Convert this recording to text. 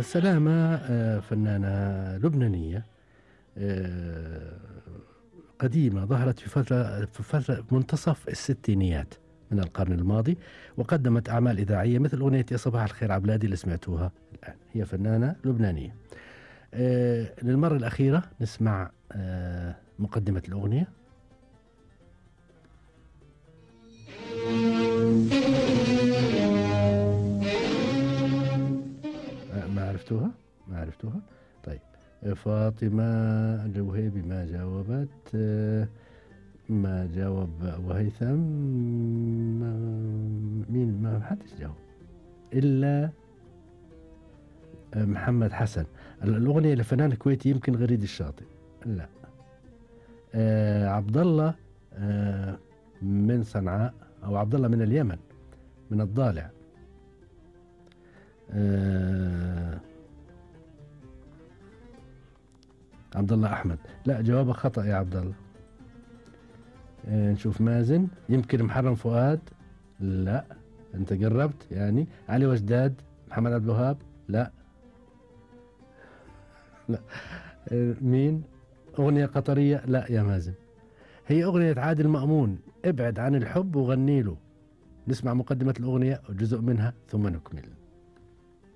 سلامة فنانة لبنانية آه، قديمة، ظهرت في فترة منتصف الستينيات من القرن الماضي، وقدمت أعمال إذاعية مثل أغنية يا صباح الخير عبلادي اللي سمعتوها الآن. هي فنانة لبنانية. للمرة الأخيرة نسمع مقدمة الأغنية. ما عرفتوها؟ ما عرفتوها؟ طيب. فاطمة الجوهيبي ما جاوبت. ما جاوب أبو هيثم. مين؟ ما حدش جاوب إلا محمد حسن. الأغنية لفنان كويتي يمكن غريد الشاطئ. لا. عبد الله من صنعاء، أو عبد الله من اليمن، من الضالع. عبد الله أحمد. لا، جوابك خطأ يا عبد الله. نشوف مازن. يمكن محرم فؤاد. لا، أنت قربت يعني. علي وجداد، محمد عبد الوهاب. لا. لا. مين؟ أغنية قطرية. لا يا مازن، هي أغنية عادل مأمون، ابعد عن الحب وغني له. نسمع مقدمة الأغنية وجزء منها ثم نكمل.